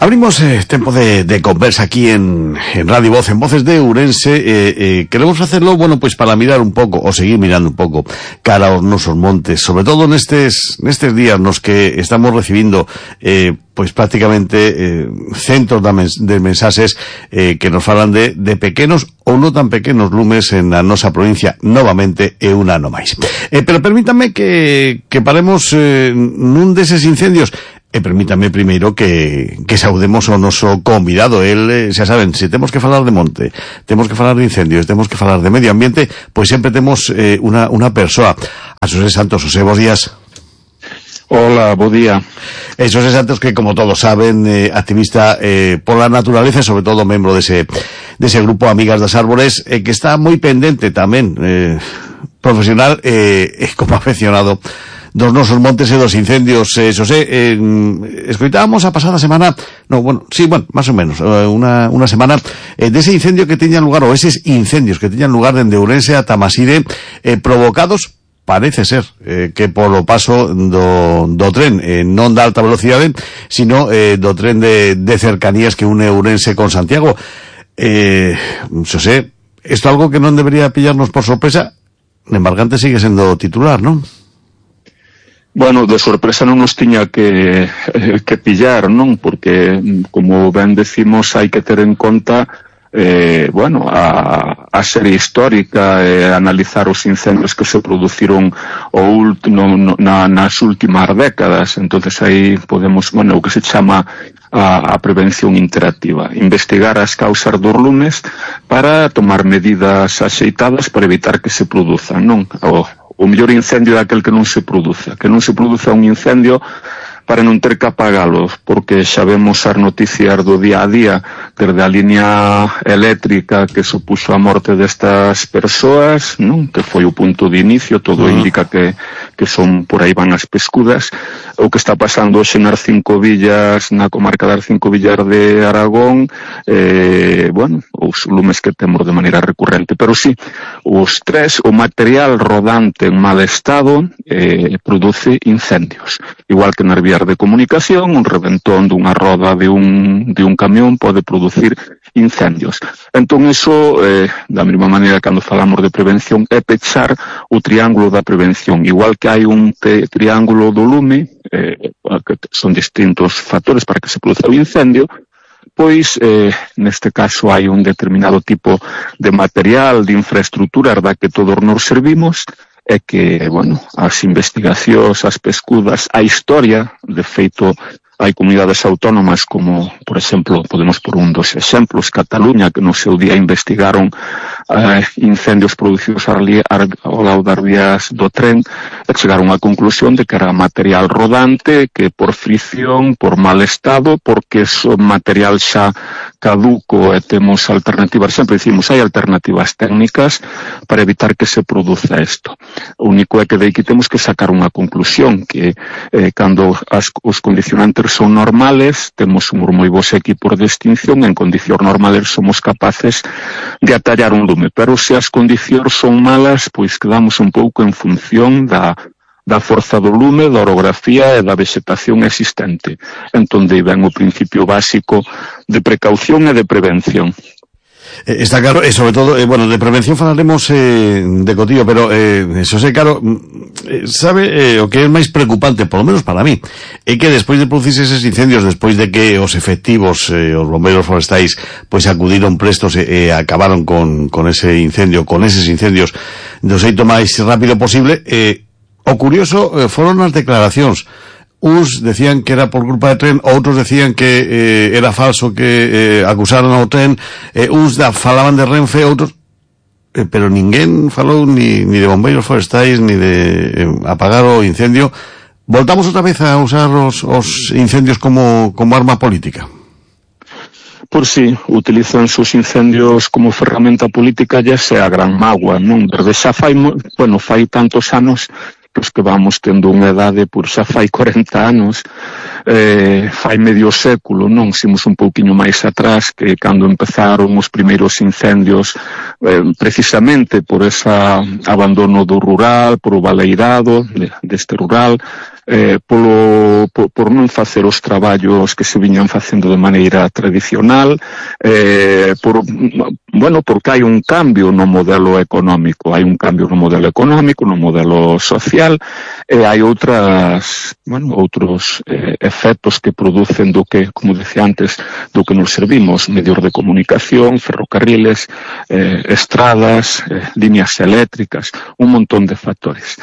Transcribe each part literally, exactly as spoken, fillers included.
Abrimos eh, tempo de, de conversa aquí en, en Radio Voz, en Voces de Ourense. Eh, eh, queremos hacerlo, bueno, pues para mirar un pouco, o seguir mirando un pouco, cara aos nosos montes, sobre todo nestes, nestes días nos que estamos recibindo, eh, pois prácticamente eh, centos de, mens de mensaxes eh, que nos falan de, de pequenos ou non tan pequenos lumes en a nosa provincia, novamente é un ano máis. Eh, pero permítanme que, que paremos eh, nun deses incendios. E permítame primeiro que, que saudemos ao noso convidado. El, eh, xa saben, se temos que falar de monte, temos que falar de incendios, temos que falar de medio ambiente, pois sempre temos eh, una, una persoa. A Xosé Santos. Xosé, bons días. Hola, bo día. Eh, Xosé Santos, que como todos saben, eh, activista eh, por la naturaleza e sobre todo membro dese, dese grupo Amigas das Árbores, eh, que está moi pendente tamén, eh, profesional e eh, como afeccionado dos nosos montes e dos incendios. eh, Xosé, eh, escoitábamos a pasada semana, no, bueno, sí, bueno, más o menos, eh, una, una semana, eh, dese incendio que teñan lugar, ou eses incendios que teñan lugar dende Ourense a Tamaside, eh, provocados, parece ser, eh, que polo paso do, do tren, eh, non da alta velocidade, sino eh, do tren de, de cercanías que une Ourense con Santiago. Eh, Xosé, isto é algo que non debería pillarnos por sorpresa. Embargante sigue sendo titular, non? Bueno, de sorpresa non nos tiña que, eh, que pillar, non? Porque, como ben decimos, hai que ter en conta eh, bueno, a, a serie histórica e eh, analizar os incendios que se produciron o último, no, na, nas últimas décadas. Entonces aí podemos, bueno, o que se chama a, a prevención interactiva, investigar as causas dos lumes para tomar medidas axeitadas para evitar que se produzan, non? O, O mellor incendio é aquel que non se produza, que non se produza un incendio para non ter que apagalos, porque xa vemos as noticias do día a día, desde a línea eléctrica que supuxo a morte destas persoas, non? Que foi o punto de inicio, todo uh-huh. indica que, que son por aí van as pescudas, o que está pasando hoxe nas cinco villas, na comarca das cinco villas de Aragón, eh, bueno, os lumes que temos de maneira recurrente, pero sí, os tres, o material rodante en mal estado eh, produce incendios, igual que nas vías de comunicación, un reventón dunha roda de un, de un camión pode producir incendios. Entón, iso, eh, da mesma maneira, cando falamos de prevención, é pechar o triángulo da prevención. Igual que hai un triángulo do lume, eh, que son distintos factores para que se produza o incendio, pois, eh, neste caso, hai un determinado tipo de material, de infraestructura da que todos nos servimos, é que, bueno, as investigacións, as pescudas, a historia, de feito, hai comunidades autónomas como, por exemplo, podemos por un dos exemplos, Cataluña, que no seu día investigaron eh, incendios producidos ao lado das vías do tren, e chegaron á conclusión de que era material rodante, que por fricción, por mal estado, porque é material xa caduco e temos alternativas, sempre dicimos, hai alternativas técnicas para evitar que se produza isto. O único é que de aquí temos que sacar unha conclusión, que eh, cando as, os condicionantes son normales, temos uns moi bons equipos de extinción, en condicións normales somos capaces de atallar un lume, pero se as condicións son malas, pois quedamos un pouco en función da da forza do lume, da orografía e da vegetación existente. Entón, aí ven o principio básico de precaución e de prevención. Eh, está claro, e sobre todo, eh, bueno, de prevención falaremos eh, de cotillo, pero eh, eso sei, claro, eh, sabe eh, o que é máis preocupante, polo menos para mí, é que despois de producirse eses incendios, despois de que os efectivos, eh, os bombeiros forestais, pois acudiron prestos e eh, acabaron con, con ese incendio, con eses incendios do xeito máis rápido posible, eh, o curioso eh, foron as declaracións. Uns decían que era por culpa de tren, outros decían que eh, era falso, que eh, acusaron ao tren, eh, uns da, falaban de Renfe, outros, eh, pero ninguén falou ni, ni de bombeiros forestais, ni de eh, apagar o incendio. Voltamos outra vez a usar os, os incendios como, como arma política. Por si, utilizan os incendios como ferramenta política, ya sea a gran mágoa, non? Desde xa fai, bueno, fai tantos anos que os que vamos tendo unha edade, por xa fai corenta anos, eh, fai medio século, non? Simos un pouquiño máis atrás, que cando empezaron os primeiros incendios, eh, precisamente por ese abandono do rural, por o baleirado de, deste rural, eh, polo, por, por non facer os traballos que se viñan facendo de maneira tradicional, eh, por, bueno, porque hai un cambio no modelo económico, hai un cambio no modelo económico, no modelo social, e hai outras, bueno, outros eh, efectos que producen do que, como decía antes, do que nos servimos, medios de comunicación, ferrocarriles, eh, estradas, eh, líneas eléctricas, un montón de factores.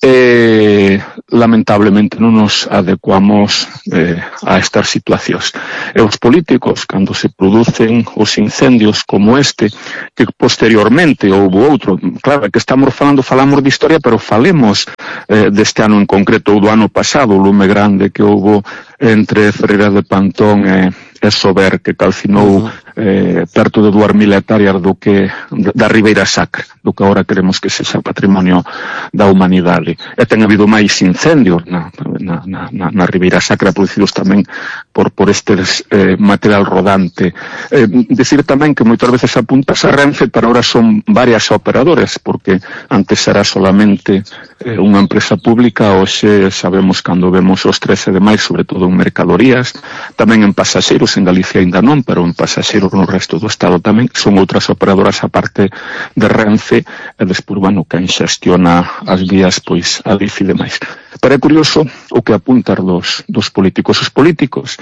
Eh, lamentablemente non nos adecuamos eh, a estas situacións. E os políticos, cando se producen os incendios como este, que posteriormente houve outro, claro, que estamos falando, falamos de historia, pero falemos eh, deste ano en concreto, ou do ano pasado, o lume grande que houve entre Ferreira de Pantón e, e Sober, que calcinou uh-huh. eh, perto de dúas mil hectáreas do que, da Ribeira Sacra, do que agora queremos que sexa patrimonio da humanidade. E ten habido máis incendios na, na, na, na Ribeira Sacra, producidos tamén por, por este eh, material rodante. Eh, decir tamén que moitas veces apuntas a Renfe, pero ahora son varias operadoras, porque antes era solamente eh, unha empresa pública, hoxe sabemos cando vemos os trece de maio, sobre todo en mercadorías, tamén en pasaxeiros, en Galicia ainda non, pero en pasaxeiros no resto do Estado tamén, son outras operadoras a parte de Renfe, e despois, bueno, quen xestiona as vías, pois, a D I F e demais. Pero é curioso o que apuntar dos, dos políticos. Os políticos,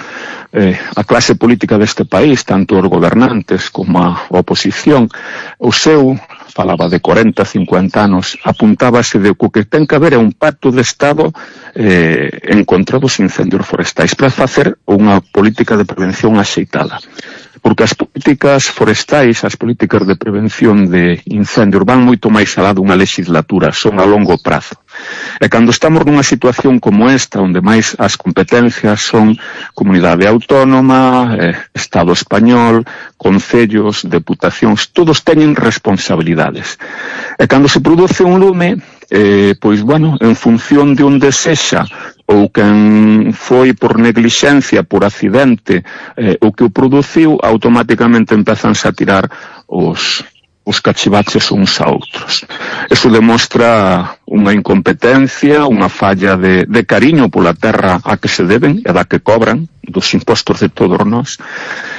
eh, a clase política deste país, tanto os gobernantes como a oposición, o seu, falaba de corenta, cincuenta anos, apuntábase de que o que ten que haber é un pacto de Estado eh, en contra dos incendios forestais para facer unha política de prevención axeitada. Porque as políticas forestais, as políticas de prevención de incendios van moito máis alá dunha legislatura, son a longo prazo. E cando estamos nunha situación como esta, onde máis as competencias son comunidade autónoma, eh, Estado español, concellos, deputacións, todos teñen responsabilidades. E cando se produce un lume, eh, pois, bueno, en función de onde sexa, ou quen foi por neglixencia, por accidente, eh, o que o produciu, automáticamente empezanse a tirar os... os cachivaches uns a outros. Eso demostra unha incompetencia, unha falla de, de cariño pola terra a que se deben e da que cobran, dos impostos de todos nós,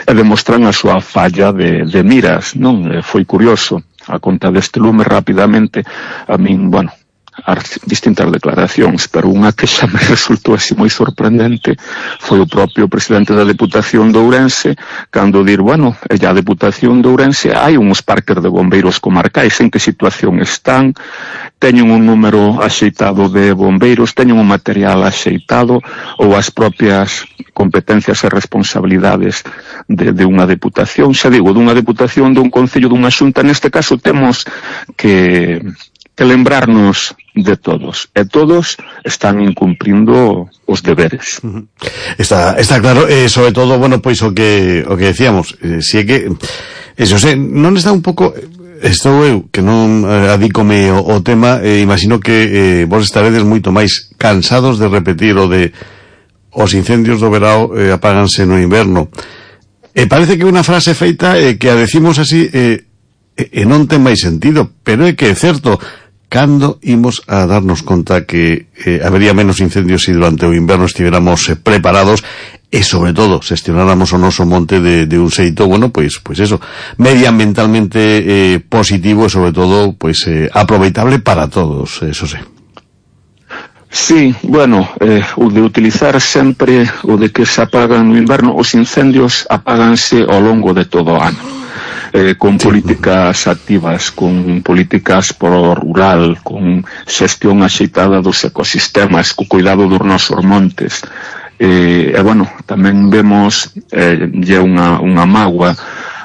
e demostran a súa falla de, de miras, non? E foi curioso, a conta deste lume rapidamente, a min, bueno, as distintas declaracións, pero unha que xa me resultou así moi sorprendente foi o propio presidente da Deputación de Ourense, cando dir, bueno, e a Deputación de Ourense hai uns parques de bombeiros comarcais, en que situación están, teñen un número axeitado de bombeiros, teñen un material axeitado, ou as propias competencias e responsabilidades de, de unha deputación, xa digo, dunha deputación, dun concello, dunha xunta. Neste caso temos que que lembrarnos de todos, e todos están incumplindo os deberes. Está, está claro, eh, sobre todo, bueno, pois o que o que decíamos, eh, si é que eso, se, non está un pouco, estou eu, que non eh, adícome o, o tema, eh, imagino que eh, vos estaredes moito máis cansados de repetir o de os incendios do verao eh, apáganse no inverno. E parece que é unha frase feita eh, que a decimos así eh, e non ten máis sentido, pero é que é certo. Cando imos a darnos conta que eh, habería menos incendios se durante o inverno estiveramos eh, preparados e, sobre todo, xestionáramos o noso monte de, de un xeito, bueno, pois, pois eso, medioambientalmente eh, positivo e, sobre todo, pois, eh, aproveitable para todos, eso sí. Sí, bueno, eh, o de utilizar sempre o de que se apagan no inverno, os incendios apáganse ao longo de todo o ano. Eh, con políticas activas, con políticas pro rural, con xestión axeitada dos ecosistemas, co cuidado dos nosos montes. Eh, e, bueno, tamén vemos eh, lle unha, unha mágoa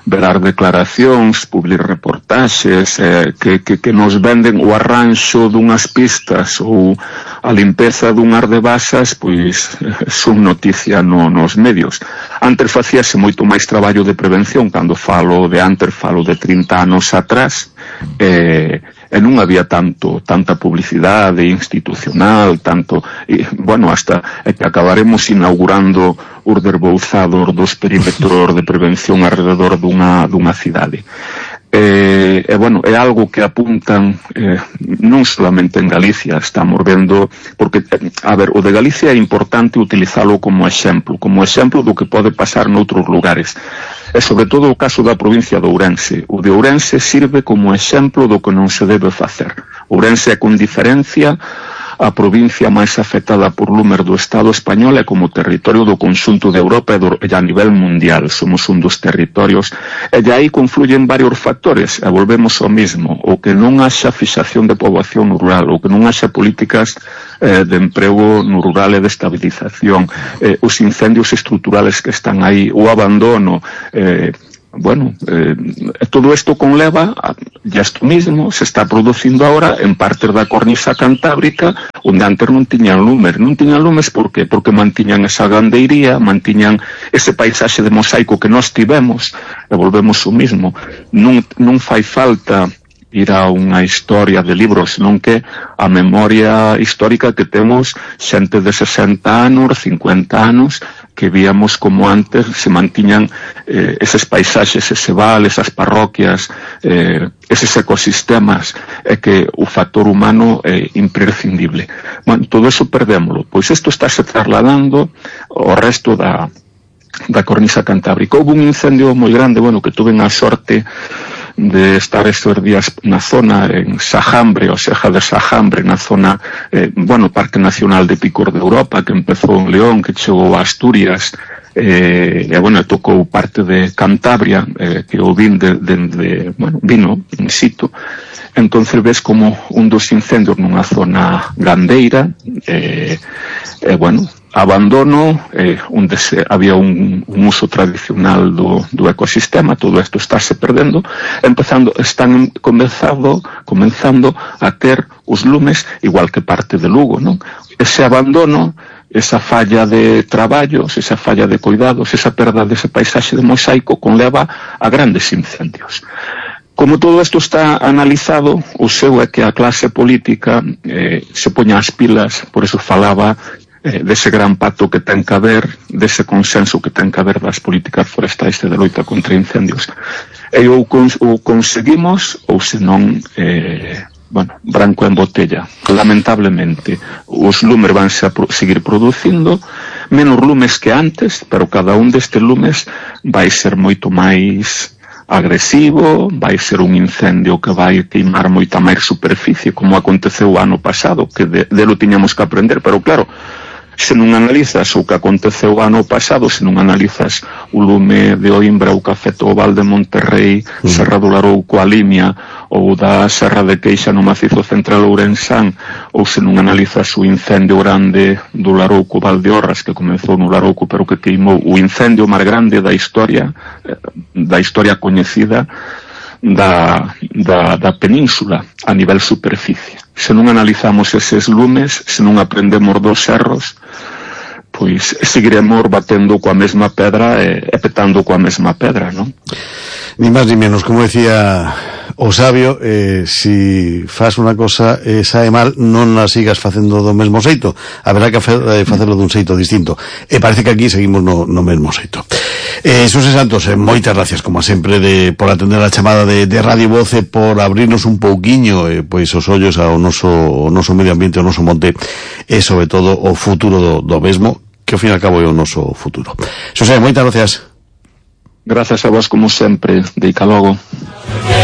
verar declaracións, publicar reportaxes eh, que, que, que nos venden o arranxo dunhas pistas ou a limpeza dun ar de basas, pois son noticia no, nos medios. Antes facíase moito máis traballo de prevención, cando falo de antes, falo de trinta anos atrás, eh, e non había tanto tanta publicidade institucional, tanto, e, bueno, hasta é que acabaremos inaugurando os derbouzados dos perímetros de prevención alrededor dunha, dunha cidade. Eh, e, bueno, é algo que apuntan eh, non solamente en Galicia, estamos vendo, porque, a ver, o de Galicia é importante utilizalo como exemplo, como exemplo do que pode pasar noutros lugares, e sobre todo o caso da provincia de Ourense. O de Ourense sirve como exemplo do que non se debe facer. Ourense é con diferencia a provincia máis afectada por lumes do Estado español e como territorio do conxunto de Europa e, do, e a nivel mundial. Somos un dos territorios e de aí confluyen varios factores e volvemos ao mismo, o que non haxa fixación de poboación no rural, o que non haxa políticas eh, de emprego no rural e de estabilización, eh, os incendios estruturales que están aí, o abandono, eh, bueno, eh, todo isto conleva a, ya isto mismo se está producindo ahora en partes da cornisa cantábrica onde antes non tiñan lumes. Non tiñan lumes por qué? Porque mantiñan esa gandeiría, mantiñan ese paisaxe de mosaico que nós tivemos, e volvemos o mismo. Non, non fai falta ir a unha historia de libros, senón que a memoria histórica que temos xente de sesenta anos, cincuenta anos, que víamos como antes se mantiñan eh, eses paisaxes, ese val, esas parroquias, eh, eses ecosistemas, e que o factor humano é imprescindible. Bueno, todo eso perdémolo. Pois isto estáse trasladando ao resto da, da cornisa cantábrica. Houve un incendio moi grande, bueno, que tuve a sorte de estar estes días na zona en Sajambre, o Seja de Sajambre, na zona, eh, bueno, Parque Nacional de Picor de Europa, que empezou en León, que chegou a Asturias, eh, e, bueno, tocou parte de Cantabria, eh, que o vin de, de, de, bueno, vino in situ. Entonces ves como un dos incendios nunha zona gandeira, eh, e, bueno, abandono, eh, onde se, había un, un uso tradicional do, do ecosistema, todo isto estáse perdendo, empezando, están comenzando, comenzando a ter os lumes igual que parte de Lugo, non? Ese abandono, esa falla de traballos, esa falla de cuidados, esa perda dese paisaxe de mosaico conleva a grandes incendios. Como todo isto está analizado, o seu é que a clase política eh, se poña as pilas, por eso falaba eh, dese gran pacto que ten que haber, dese consenso que ten que haber das políticas forestais e de loita contra incendios. E ou, cons ou conseguimos, ou senón, eh, bueno, branco en botella. Lamentablemente, os lumes vanse a pro seguir producindo, menos lumes que antes, pero cada un destes lumes vai ser moito máis agresivo, vai ser un incendio que vai queimar moita máis superficie, como aconteceu o ano pasado, que de, de lo tiñamos que aprender, pero claro, se non analizas o que aconteceu o ano pasado, se non analizas o lume de Oimbra, o que afectou o Val de Monterrey, mm. Serra do Larouco, a Limia, ou da Serra de Queixa no macizo central ourensán, ou se non analizas o incendio grande do Larouco, Valdeorras, que comezou no Larouco, pero que queimou o incendio máis grande da historia, da historia coñecida da, da, da península a nivel superficie. Se non analizamos eses lumes, se non aprendemos dos erros, pois seguiremos batendo coa mesma pedra e, e petando coa mesma pedra, non? Ni máis ni menos, como decía o sabio, eh, si faz unha cosa e eh, sae mal, non a sigas facendo do mesmo xeito, haberá que eh, facelo dun xeito distinto, e parece que aquí seguimos no, no mesmo xeito. eh, Xosé Santos, eh, moitas gracias como sempre de, por atender a chamada de, de Radio Voz e por abrirnos un pouquiño eh, pois os ollos ao noso, ao noso medio ambiente, ao noso monte e sobre todo o futuro do, do mesmo, que ao fin e ao cabo é o noso futuro. Xosé, moitas gracias. Gracias a vos como sempre, de Icalogo.